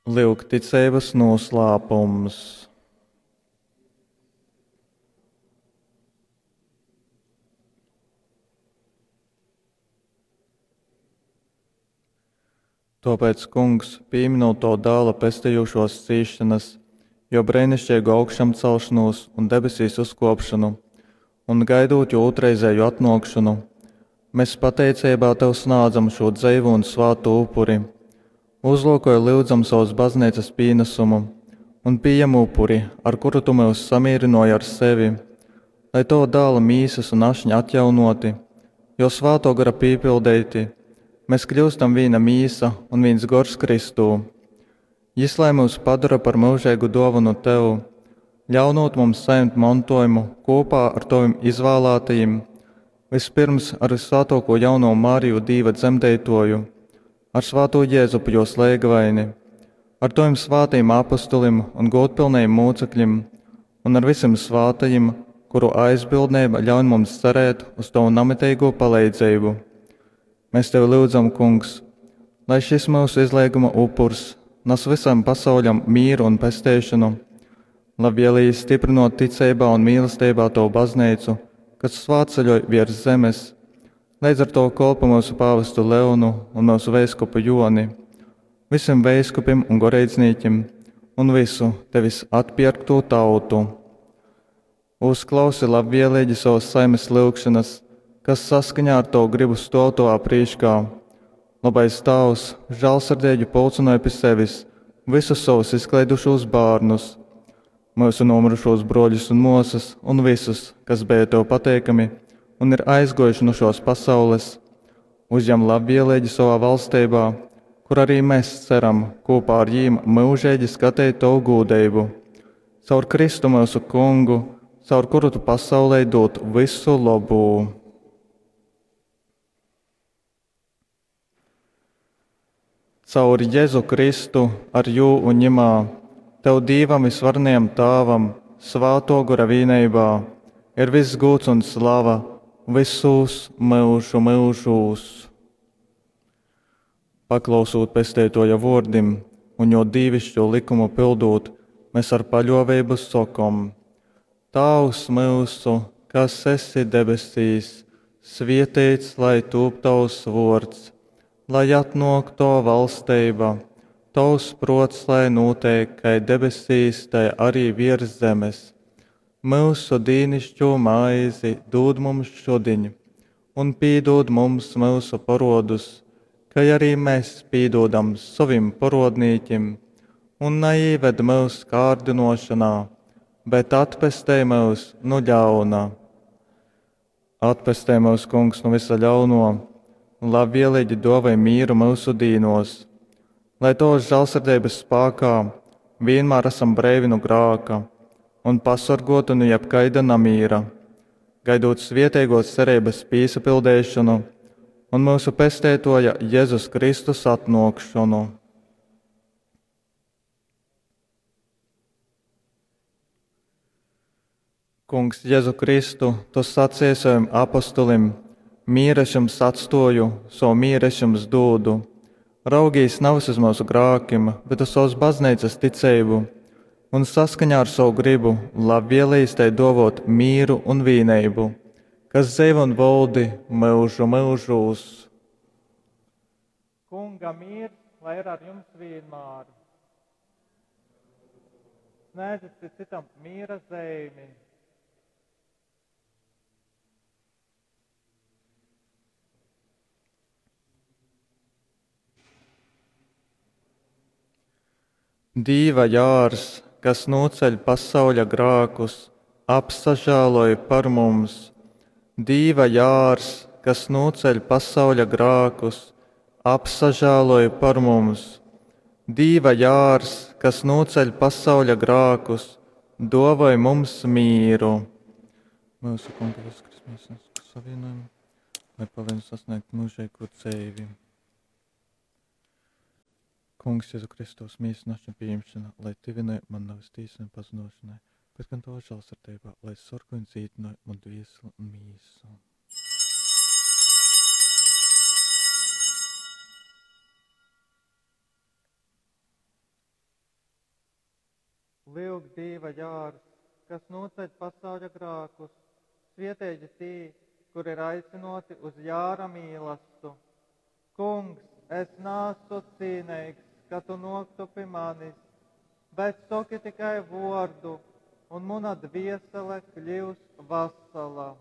Lyuk ticeibas noslēpums. Tōpēc, Kungs, pīminot Tō Dāla pestejušōs cīsšonas, Jō breiniškeigu augšamcelšonūs un debesīs uzkōpšonu, un gaidūt Jō ūtrreizēju atnōkšonu, mēs pateiceibā Tev snādzam šū dzeivū un svātū upuri. Uzlūkoj, lyudzam, sovas bazneicas pīnasumu un pījem upuri, ar kuru Tu myus samīrynōji ar sevi, lai Tova Dāla mīsas un ašņa atjaunōti, Jō Svātō Gora pīpildeiti, mēs kļūstam vīna mīsa un vīns gors Kristū. Jys lai myus padara par myužeigu dōvonu Tev, ļaunūt mums sajimt montōjumu kopā ar Tovim izvālātajim, vispirms ar Vyssvātōkō jaunovu Mariju Dīva dzemdeitōju, ar svātū Jēzupu jōs leigavaini, ar Tovim svātajim apostolim un gūdpilnajim mūcekļim un ar visim svātajim, kuru aizbildneiba ļaun mums cerēt uz Tovu namiteigū paleidzeibu. Mēs Tevi lyudzam, Kungs, lai šis myusu izleiguma upurs nas visam pasauļam mīru un pesteišonu, labvēlīgi stiprinot ticeibā un mīlestībā Tavu baznīcu, kas svātceļoj virs zemes, leidz ar to kolpu mūsu pāvestu Leonu un mūsu veiskupu Joni, visiem veiskupim un goreidznīkim un visu Tevis atpierkto tautu. Uzklausi labvēlīgi savas saimes lyugšanas, kas saskaņā ar Tavu gribu stōv Tovā prīškā. Labais Tāvs, žālsirdīgi pulcināja pie sevis visus savus izklaidušos bērnus, mūsu nomirušos broļus un māsas un visus, kas bija Tev pateikami un ir aizgojuši no šos pasaules. Uzņem labvēlīgi savā valstībā, kur arī mēs ceram kopā ar jīm mūžīgi skatīt Tavu gūdību. Caur Kristu mūsu Kungu, caur kuru Tu pasaulē dod visu labu. Caur Jēzu Kristu, ar jū un ņemā, Tev Dīvam visvarenajam Tāvam, Svāto Gora vīneibā, ir viss gūds un slava visos myužu myužūs. Paklausūt pesteitoja vōrdim un jo dīvišķo likumu pildūt, mēs ar paļōveibu sokom: Tāvs myusu, kas esi debesīs, svieteits lai tūp tavs vōrds, lai atnōk tova valsteiba, tavs prots lai nūteik kai debesīs, tai arī virs zemes. Myusu dīnišķo maizi dūd mums šodiņ, un pīdūd mums myusu porodus, kai arī mēs pīdūdam sovim porodnīkim, un neīved mūs kārdinošanā, bet atpestej mūs no ļauna. Atpestej mūs, Kungs, no visa ļauno, un labvēlīgi dāvāj mīru mūsu dīnos, lai Tavas žēlsirdības spēkā vienmēr esam breivi no grāka un pasargoti no jebkaida namīra, gaidot svietēgos cerības pīsapildēšanu un mūsu pestētoja Jēzus Kristus atnākšanu. Kungs, Jēzu Kristu, Tu sacīji saviem apostolim: Mīru es jums atstoju, savu mīru es jums dodu. Raugīs nevis uz mūsu grākim, bet uz savas baznīcas ticību, un saskaņā ar savu gribu labvēlīgi tai dovot mīru un vīneibu, kas dzīvo un valdi mūžu mūžūs. Kunga miers, lai ir ar jums vienmēr. Sniedzat citam miera zīmi. Dīva jārs, kas noceļ pasauļa grākus, apsažāloj par mums. Dīva jārs, kas noceļ pasauļa grākus, apsažāloj par mums. Dīva jārs, kas noceļ pasauļa grākus, dāvāj mums mīru. Mūsu Kunga Jēzus Kristus savienojumu, lai palīdz sasniegt mūžīgo dzīvi. Kungs, Jēzu Kristus, mīsas un ašņa pieņemšana, lai tuvināj man nevis tīsai un pazinošanai, bet gan tavā žēlsirdībā, lai sargāj un dzīdināj man dvieseli un mīsu. Lyuk, Dīva jārs, kas nūceļ pasauļa grākus, svieteigi tī, kuri ir aicynōti uz jāra mīlastu. Kungs, es naasu cīneigs, ka tu nōktu pi manis, bet soki tikai vōrdu, un muna dviesele kļius vasala.